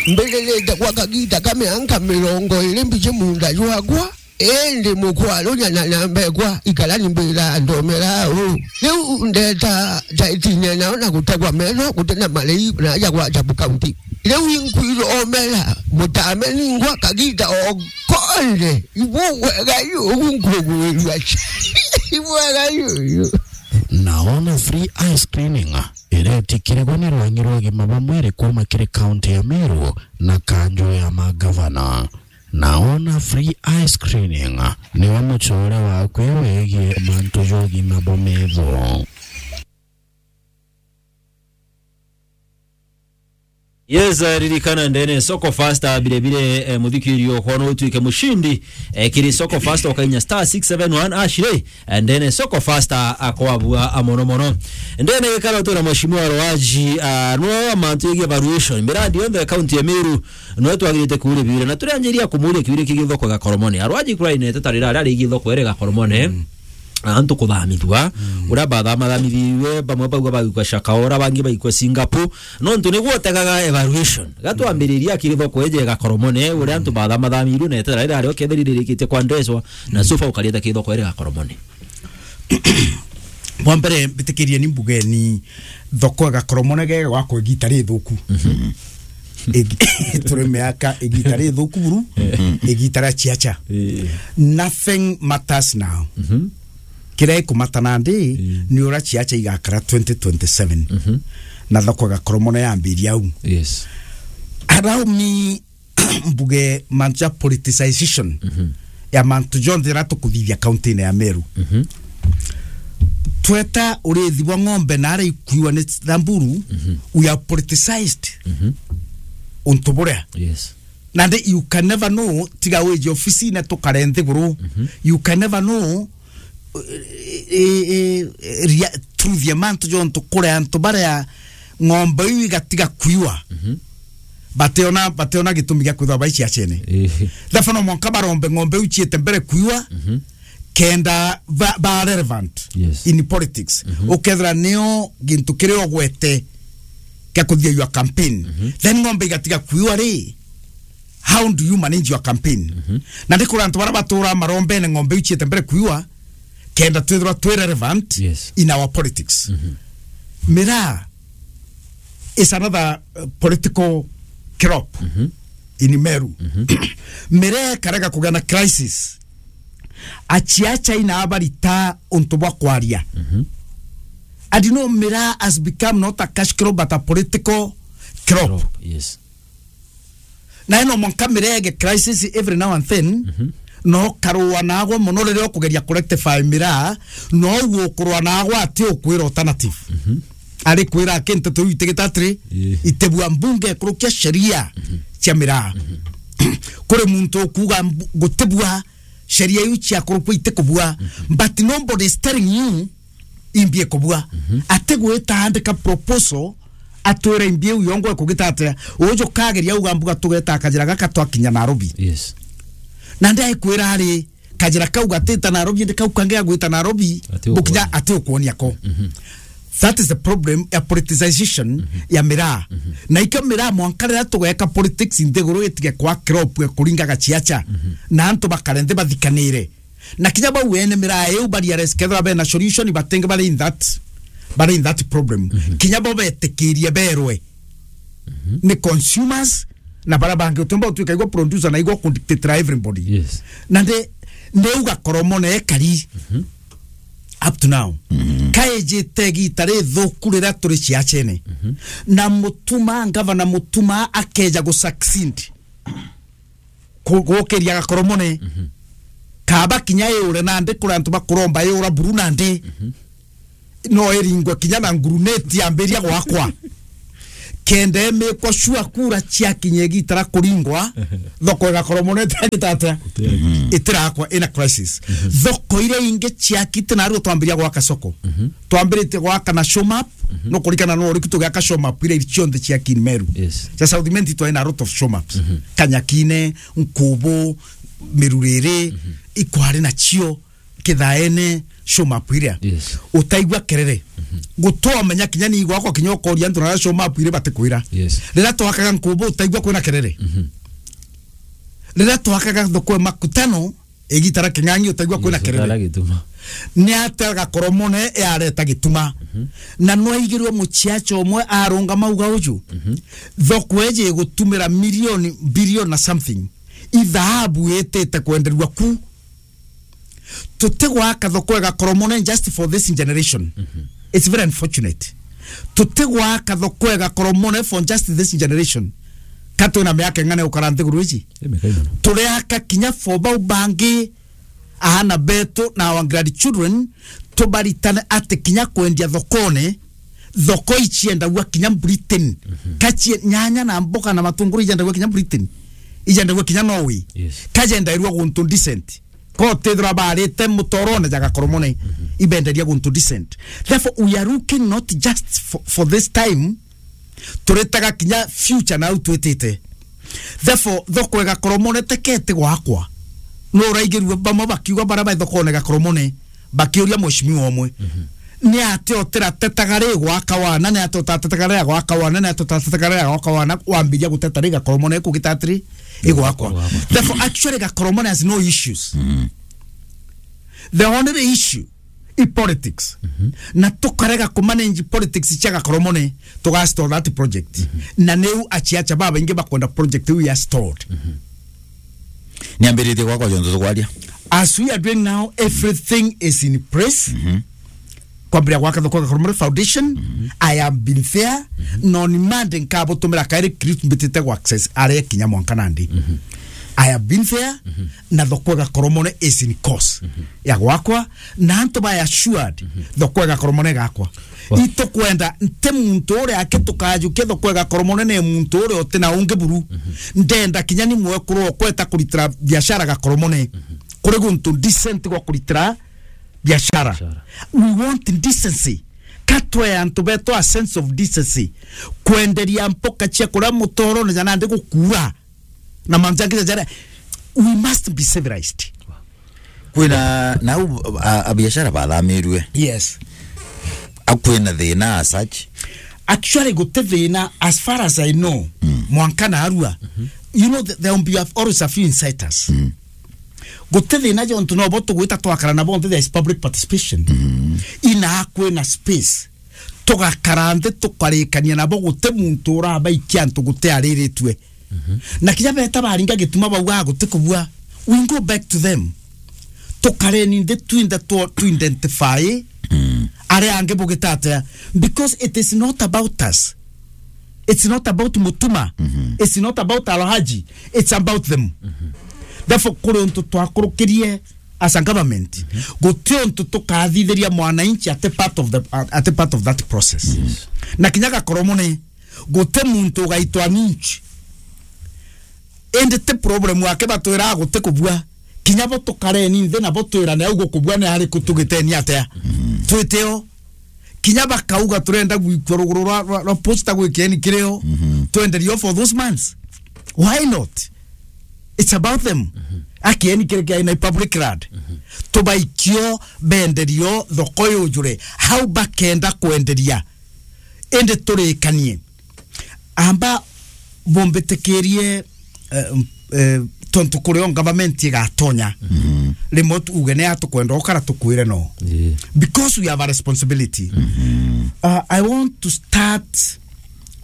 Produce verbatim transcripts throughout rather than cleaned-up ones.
Mbiririte gwa kagiita ka mianka mirongo iri mbiji muunda jwakwa, indi mukwarunya na nyambekwa ikarani mbira ndomera uu. Riu ndeta taitinya nao na gutegwa metho guti na marii na aja gwa Jabu County. Riu inkwiromera mutame ningwa kagiita o konthe. Ibwega yuyu nkugwirua. Ibwega yuyu. Naona free eye screening iretikirigwa ni rwangi rwa ugima bwa mwiri kuuma kiri kaunti ya Meru na kanjo ya magavana. Naona free eye screening niwe mucore waku wigie mantu ja ugima bwa metho. Yes, eh, ririkana ndene Soko Fasta, bire bire, eh, muthikirio kono utuike mushindi, eh, kiri Soko Fasta ukainya star six seven one hash ri, eh, ndene Soko Fasta akwabua amono mono. Ndene gikara utura mheshimiwa Rwaji, ah, no mantu yegi evaluation. Mirandi yonthe ya kaunti ya Meru, no twagirite kuria biure. Na turanjiria kumuria kiuria kigi thoko ya Gakoromone. Arwaji kura inete tarira aria rigi thoko ere Gakoromone. Mm. Antu kuthamithua, mm, uria bathamathamithirwe, bamwe baigua bagikwa Shakaora, bangi bagikwa Singapore. Nontu niguo utegaga evaluation. Gatwambiriria kiri thoko eje Gakoromone, uria antu bathamathamirwe na etera ira ario ketheri ririkitie kwa ndreswa, na, mm, sofa ukarieta kiri thoko ere Gakoromone. Bwa mbere, mbitikirie ni mbugeni thoko ya Gakoromone ge gwakwa igita rithuku. Mhm. Igi-, turi miaka igita rithuku buru, mhm, igita ria ciaca. Eh. Nothing matters now. Mhm. Kiria ikumata nandi, mm, ni uria ciaca igakara twenty twenty-seven. Mhm. Na thoko ya Gakoromone yambiria au. Yes. Allow me mbuge mantu ja politicization, mhm, ya mantu jonthe jaria tukuthithia kaunti-ini ya Meru. Mhm. Tweta urithi bwa ng'ombe na aria ikuiwa ni Samburu, mhm, we are politicized, mhm, untu buria. Yes. Nandi you can never know, tiga wiji ofisine tukare nthiguru. Mhm. You can never know, eh, eh, eh, ria-, truth ya mantu jontu kuri antu baria ng'ombe iu igatiga kuiwa. Mhm. Bationa, bationa gitumi gia kwithirwa bai ciacene. Eh. Therefore, no mwanka barombe ng'ombe iu ciite mbere kuiwa, mhm, kenda ba, ba relevant, yes, in politics. Mhm. Ukethira nio gintu kiria ugwete kia kuthia your campaign. Mhm. Then ng'ombe igatiga kuiwa ri, how do you manage your campaign? Mhm. Na ndikura antu baria batura marombene ng'ombe iu ciite mbere kuiwa, kenda twithirwa twi relevant, yes, in our politics. Mhm. Miraa is another, uh, political crop, mhm, in Meru. Mhm. Miraa ikarega kugia na crisis. Aciaca ina abarita untu bwa kwaria. Mhm. And you know, Miraa has become not a cash crop, but a political crop. Crop, yes. Na ino mwanka mirege crisis every now and then, mhm, no karua nagwa mono riria ukugeria kurectify Miraa, no ugukurwa nagwa ati ukwira alternative. Mhm. Ari kwira aki nteto iu itigita atiri, ii, itibua mbunge ikurukia sheria, mhm, cia Miraa. Mhm. Kuri muntu ukuga mbu-, gutibua sheria iu ciakurukua itikubua. Mhm. But nobody is telling you imbi ikubua. Mhm. Atigwita andika proposal, atwire imbi iu yongwa ikugita atia. Uju kageria uga mbuga tugeta kajira gaka twakinya Nairobi. Yes. Na ndi aikwira ari kajira kau gatita Nairobi, ndi kau kangi agwita Nairobi, ati bukinya ukuonia. Ati ukuonia ko. Mhm. That is the problem ya politicization, mhm, ya Miraa. Mhm. Na ikio Miraa mwanka riria tugeka politics nthiguru itige kwa crop ya kuringa gaciaca. Mhm. Na antu bakare nthi bathikanire. Na kinya bau ene Miraa iu ba realize kethira bena solution, batingi bari in that, bari in that problem. Mhm. Kinya bo betikirie berwe, mhm, ni consumers, na bara bangi utumba utuika igwa producer na igwa kudictate everybody. Yes. Na ndi, ndi uga Gakoromone ekari, mhm, up to now. Mhm. Kaijite igita rithuku riria turi ciacene. Mhm. Na Mutuma, ngavana Mutuma akeja gu succeed ku-, gukiria Gakoromone. Mhm. Kaba kinya iure nandi kuri antu bakuromba iura buru nandi. Mhm. No iringwe kinya na nguruneti yambiria gwakwa. Kenda emikwa shua kura ciakinya igita ria kuringwa, thoko ya Gakoromone itagita atia? Itirakwa. Mhm. Itirakwa, ina crisis. Mhm. Thoko iria ingi ciakite nario twambiria gwaka soko. Mhm. Twambiritie gwaka na Showmap, mhm, no kurikana no uriku tugiaka Showmap iria iri cionthe cia Kin Meru. Yes. Cia South Imenti twari na a lot of Showmaps. Mhm. Kanyakine, Nkubu, Miruriri, mhm, ikwari nacio. Kithaene show map iria. Yes. Utaigua kerere. Mhm. Gutomenya kinya ni gwakwa kinya ukoria antu na show map iria batikwira. Yes. Riria twakaga Nkubu utaigua kwina kerere. Mhm. Riria twakaga thoko ya Makutano, igita ria King'ang'i utaigua kwina kerere. Gituma. Ni atia Gakoromone yareta gituma. Mhm. Na nwaigirwe muciaca umwe arungama uga uju. Mhm. Thoko eji igutumira milioni, bilioni na something. Ithahabu itite kwenderua ku. Tutigwaka thoko ya Gakoromone just for this generation. Mhm. It's very unfortunate. Tutigwaka thoko ya Gakoromone for just this generation. Ka twina miaka ing'ana ukara nthiguru iji? Ii, miaka igana. Turiaka kinya for bau bangi, aana betu na our grandchildren, tubaritane ati kinya kwendia thokone, thoko iciendagua kinya Britain. Mhm. Ka cie-, nyanya na mboga na matunguru iciendagua kinya Britain. Iciendagua kinya Norway. Yes. Ka ciendairua guntu decent. Ko tethira barite mutorone ja Gakoromone, mhm, ibenderia guntu decent. Therefore, we are looking not just for, for this time, turitaga kinya future na au twitite. Therefore, thoko ya Gakoromone tekete gwakwa. No uraigirua bamwe bakiuga bara ba thokone Gakoromone, bakiuria mheshimiwa umwe. Mhm. Ni atia utiratetaga ri gwaka wana, ni atia utatetaga ri gwaka wana, ni atia utatetaga ri gwaka wana, wambiria guteta ri Gakoromone kugita atiri, igwakwa. Igwakwa. Therefore, actually, Gakoromone has no issues. Mm. The only issue i politics. Mhm. Na tukarega kumanage politics cia Gakoromone, tugastall that project. Mhm. Na niu aciaca babaingi bakwenda project iu ya stalled. Mhm. Niambiritie gwakwa jontu tukwaria. As we are doing now, everything is in place. Mhm. Kwambiria gwaka thoko ya Gakoromone Foundation, mhm, I have been there. Mhm. No ni Monday nkabutumira kairi clip mbitite gwa access aria kinya mwanka nandi. Mhm. I have been there, mhm, na thoko ya Gakoromone is in course, mhm, ya gwakwa, na antu ba assured, mhm, thoko ya Gakoromone igakwa. Wa- Itukwenda nti muntu uria aki tukajukia thoko ya Gakoromone ni muntu uria uti na ungi buru. Mhm. Ndenda kinya ni mwekuru okweta kuritira biashara Gakoromone. Mhm. Kuri guntu decent gwa kuritira biashara. Biashara. We want decency. Ka twe antu betu a sense of decency. Kwenderia mpoka cia kuria mutorone ja nandi gukura. Na mantu jangi jaria, we must be civilized. Kwina nau a, a biashara bathamirue. Yes. A kwina thina as such? Actually, guti thina as far as I know. Mm. Mwanka na arua. Mhm. You know, th-, there will be always a few inciters. Mm. Guti thina jontu no bo tugwita twakara na bonthe, there is public participation. Mm. Ina kwina space. Tugakara nthi tukarikania nabo, guti muntu urabaikia antu guti ariritue. Mhm. Na kinya beta baringa gituma bauga guti kubua, we go back to them. Tukareni nthi twinde tu, tu identify, mm, aria angi bugita atia, because it is not about us. It's not about Mutuma. Mhm. It's not about Alhaji. It's about them. Mhm. Therefore, kuri untu twakurukirie as a government, mhm, guti untu tukathithiria mwananchi ati part of the, ati part of that process. Yes. Na kinya Gakoromone, guti muntu ugaitwa ninch. Indi ti problem yake batwira guti kubua. Kinya bo tukareni nthi na bo twirane au gukubua ni ariku tugiteni atia. Mhm. Twiteo. Kinya bakauga turenda gwikua ruguru rwa, rwa, rwa posta gwikieni kirio. Mhm. Twenderio for those months. Why not? It's about them. Mhm. Akieni kiri kia in a public land. Mhm. Tubaikio benderio thoko yujure. Hau bakenda kwenderia. Indi turikanie. Amba bumbitikirie, eh, eh, tontu kurio government igatonya. Mhm. Rimwe tu-, uge ni atukwenda ukara tukwire no. Yeah. Because we have a responsibility. Mhm. Uh, I want to start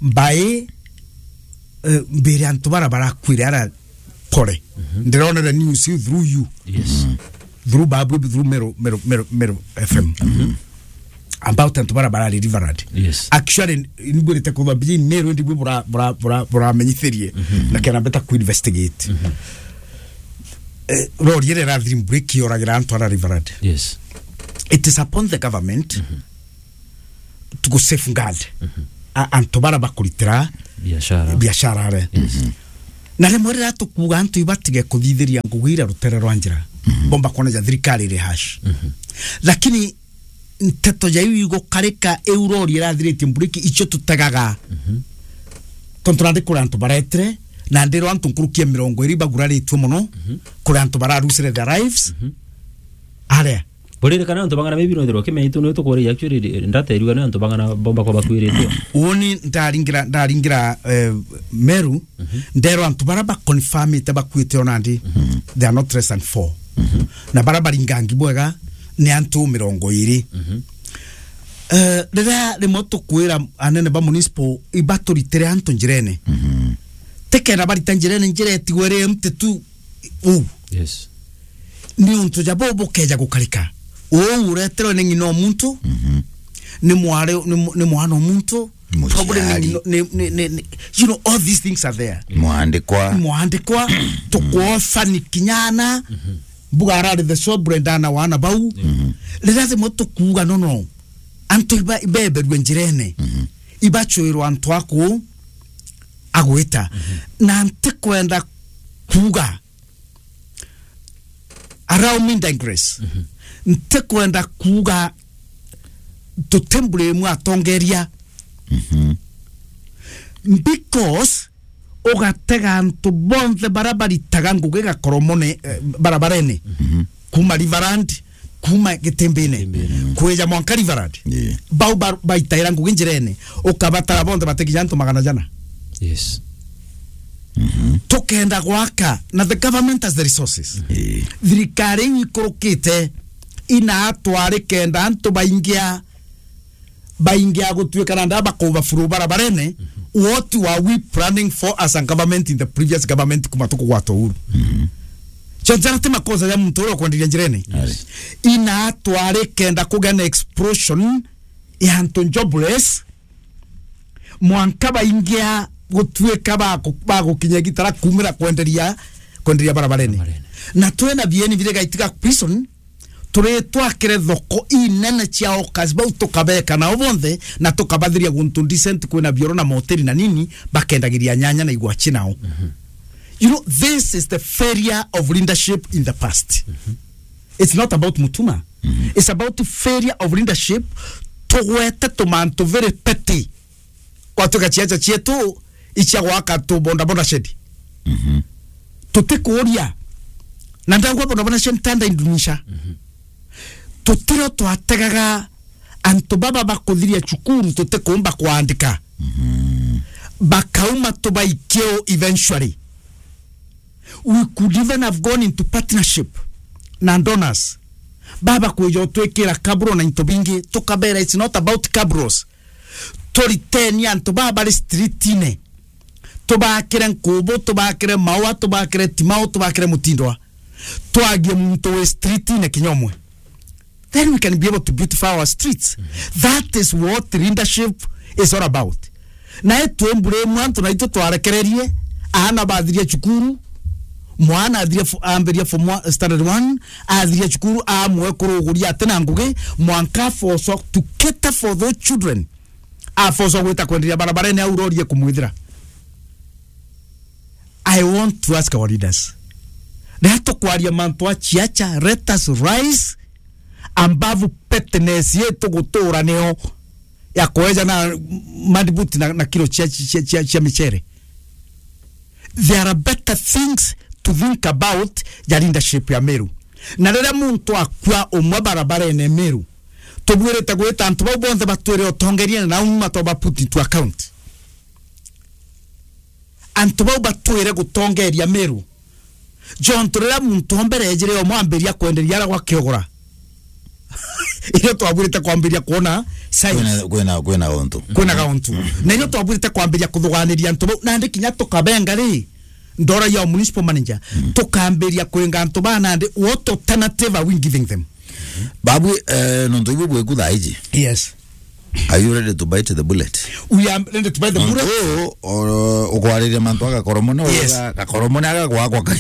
by, eh, mbere antu bara barakwire ara kore. Mhm. Ndironere news you through you. Yes. Mhm. Through Babu, through Meru, Meru, Meru, Meru F M. Mhm. About antu bara barari Riverland. Yes. Actually, nigwirite kuthwa mbiji Meru, ndigwi bura, bura, bura, buramenyithirie. Mhm. Na kena beta ku investigate. Mhm. Eh, rori ire irathiri break yoragira antu ara Riverland. Yes. It is upon the government, mhm, to go safeguard, mhm, a-, antu bara bakuritira biashara. Biashara are. Yes. Mhm. Na rimwe riria tukuuga antu ibatige kuthithiria ngugi iria rutere rwa njira, mhm, bomba kuona ja thirikari iri hash. Mhm. Lakini nteto ja iu igukarika iu rori irathiritie mburiki icio tutegaga. Mhm. Tontu nandi kuri antu baretire, na ndiro antu nkuruki ya mirongo iri baguraritue mono, mhm, kuri antu bararucire their lives. Mhm. Aria Buririkana antu bang'ana maybe no ithirwa kimenya itu ni tukuria actually ndata iriwa ni antu bang'ana bomba kwa bakwirite. Uuni ndaringira, ndaringira, eh, Meru, mhm, nderwa antu bara ba confirmite bakuite ona ndi, mhm, they are not less than four. Mhm. Na bara baringangi bwega ni antu mirongo iri. Mhm. Eh, riria rimwe tukwira anene ba municipal ibaturitire antu njirene. Mhm. Tikenda barita njirene, njira itigwe iri empty tu uu. Yes. Ni untu ja bo bukeja gukarika. Uu ureterwe ni ng'ina o muntu, mhm, ni mwari, ni mu-, ni mwana o muntu, muciari. Probably ni ng'ina, ni, ni, ni, ni, you know, all these things are there. Mwandikwa. Mwandikwa, tukuofa ni kinyana, mhm, mbuga arari the shop brenda na wana bau. Mhm. Riria rimwe tukuuga, no, no. Antu iba-, ibeberue njirene. Mhm. Ibachwirwa antu aku agwita. Mhm. Na ntikwenda kuuga, allow me digress. Mhm. Ntikwenda kuuga tutembure imwe atongeria. Mhm. Because ugatega antu bonthe bara baritaga ngugi Gakoromone, eh, barabarene. Mhm. Kuma Riverland, kuma Gitimbine, Gitimbine, kwija mwanka Riverland. Yeah. Bau ba-, baitaira ngugi njirene, ukabatara bonthe batikinya antu magana jana. Yes. Mhm. Tukenda gwaka, na the government has the resources. Yeah. Thirikari iu ikurukite ina atwari kenda antu baingia, baingia gutuika na ndaba kuba furu barabarene. Mhm. What were we planning for as a government in the previous government kuma tukugwata uhuru? Mhm. Chanzara ti makosa ya muntu uria ukwenderia njirene. Yes. Ina atwari kenda kugia na explosion ya antu jobless, mwanka baingia gutuika baku-, bagukinya gitara kumira kwenderia, kwenderia barabarene. Barabarene. Na twena bieni bire gaitiga prison, turi twakire thoko inene cia hawkers bau tukabeka nao bonthe na tukabathiria guntu decent kwina bioro na moteri na nini, bakendagiria nyanya na igwachi nao. Mhm. You know, this is the failure of leadership in the past. Mhm. It's not about Mutuma. Mhm. It's about failure of leadership. Tugwete tumantu very petty. Kwatuika ciaca cietu icia gwaka tu bodaboda shed. Mhm. Tutikuuria. Na ndauga bodaboda shed tanda indunisha. Mhm. Tutiro twategaga antu baba bakuthiria cukuru tutikumba kwandika. Mhm. Bakauma tubaikio eventually. We could even have gone into partnership na donors. Baba kwija utwikira kaburo na into bingi, tukabera it's not about kabros. Turiteni antu baba bari streetine. Tubakire Nkubu, tubakire Maua, tubakire Timau, tubakire Mutindwa. Twagie muntu wi streetine kinya umwe. Then we can be able to beautify our streets. That is what leadership is all about. Na itwe mbure mwantu na itu twarekererie, aana bathiria cukuru, mwana athiria fo-, ambiria form one, standard one, athiria cukuru, amwe kuruguria ati na ngugi, mwanka afoso to cater for those children. Afoso gwita kwenderia barabarene au rori ikumwithira. I want to ask our leaders. Riria tukwaria mantu a ciaca, let us rise above pettiness yetu gutura nio ya kweja na madbuti na, na kilo cia, cia, cia, cia michere. There are better things to think about ya leadership ya Meru. Na riria muntu akua umwe barabarene Meru, tubwirite gwita antu bau bonthe batwire utongeria na uma toba put into account. Antu bau batwire gutongeria Meru. Jontu riria muntu o mbere ejire omwe ambiria kwenderia ara gwa kiogora. Irio twabwirite kwambiria kuona signs. Kwina, kwina, kwina untu. Kwina gauntu. Mm. Na irio twabwirite kwambiria kuthuganiria antu bau. Nandi kinya tukabenga ri, ndora ya municipal manager. Mm. Tukambiria kwinga antu ba nandi, what alternative are we giving them? Babu, eh, nontu ibu bweku thaa iji. Yes. Are you ready to bite the bullet? We are ready to bite the bullet. Nontu, o, ukwariria mantu a Gakoromone, yes, uga Gakoromone aga gwakwa ka